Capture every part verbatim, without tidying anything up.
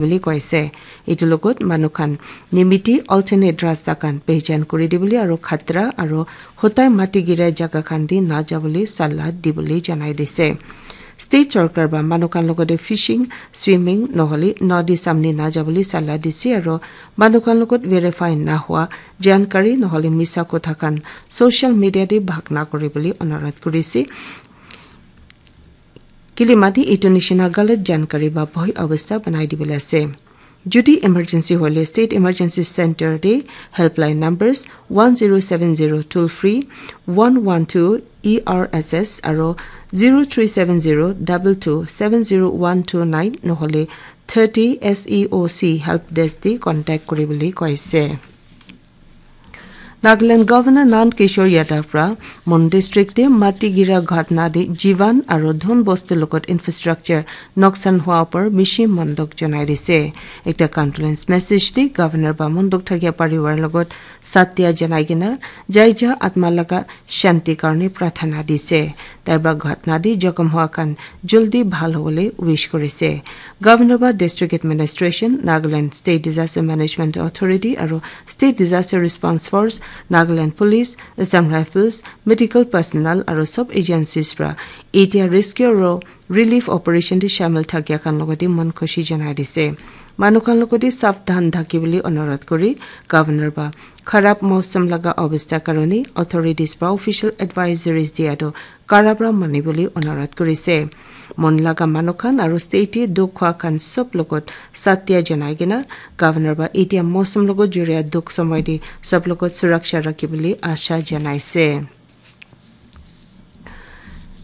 Buli koise. Etu logot manu khan nimiti alternate rasta khan pehijan kuri dibole aro khatra aro hotai mati gira jaga khan di na jabole sala dibole janai dise. State sorkar ba manu khan logote fishing, swimming nohole nodi samne na jabole sala dise aro manu khan logot verify na hua jankari nohole misa kotha khan social media te bhag na kuri bole onurodh kurise. Kile mati etu nishina galat jankari ba bhoi obostha banai dibole ase. Jodi emergency hoile State Emergency Center te helpline numbers one zero seven zero toll free, one one two E R S S aro zero three seven zero double two seven zero one two nine nohole thirty S E O C help desk te contact kuri bole koise. Nagaland Governor Nand Kishore Yadav pra Mon district te mati gira ghatna te jivan aro dhun bosti logot infrastructure noksan hua upor bishi mondok janai dise. Ekta condolence message te Governor ba mondok thakia parivar logot satya janai kena jaija atma laga shanti karne prarthana dise. Tai pra ghatna te jokhom hua khan jaldi bhal hobole wish kurise. Governor ba District Administration, Nagaland State Disaster Management Authority aro State Disaster Response Force, Nagaland Police, Assam Rifles, medical personnel aro sub agencies pra etia rescue aro relief operation te shamil thakia khan logote mon khushi janai dise. Manu khan logote savdhan thaki bole onurodh kuri Governor ba kharab mausam laga obostha karone authorities ba official advisories dia to kara pra mani bole onurodh kurise. Mon laga manu khan aro state te dukh hua khan sob logot satya janai kena Governor ba etia mausam logot juria dukh somoy te sob logot suraksha rakhi bole asha janaise.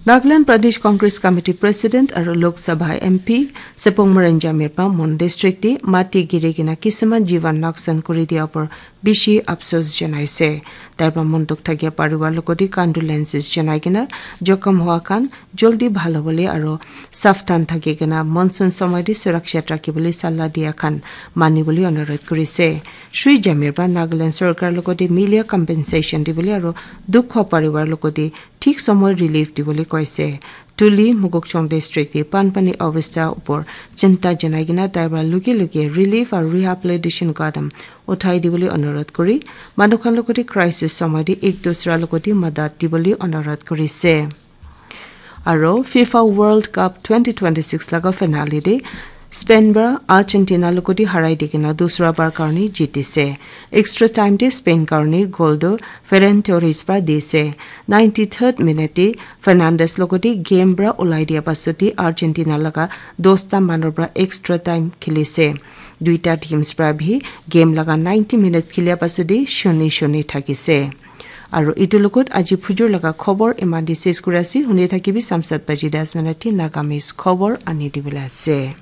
Nagaland Pradesh Congress Committee President aro Lok Sabha M P Sepong Maran Jamir pa Mon district te mati giri kena kisiman jivan noksan kuri dia upor bishi afsos janaise. Tai pra mondok thakia parivar logote condolences janai kena jokhom hua khan jaldi bhal hobole aro savdhan thaki kena monsoon somoy te surakshat rakhi bole sala dia khan mani bole onurodh kurise. Shri Jamir pra Nagaland sorkar logote milia compensation dibole aro dukh hua parivar logote thik somoy relief dibole koise. Tuli Mokokchung district te banpani obostha upor chinta janai kena tai pra luge luge relief aro rehabilitation kadam uthai dibole onurodh kuri manu khan logote crisis somoy te ek dusra logote madad dibole onurodh kurise. Aro FIFA World Cup twenty twenty-six laga finale te Spain pra Argentina logote harai di kena dusra bar karne jitise. Extra time te Spain karne goal tu Ferran Torres pra dise. Ninety-third minute te Fernandes logote game pra ulai dia pasot te Argentina laga dosta manu pra extra time khilise. Duita teams pra bhi game laga ninety minutes khilia pasot te shoni shoni thakise. Aro etu logot aji phujur laga khobor eman te ses kuri ase. Huni thakibi samsat baji das minute te Nagamese khobor ani dibole ase.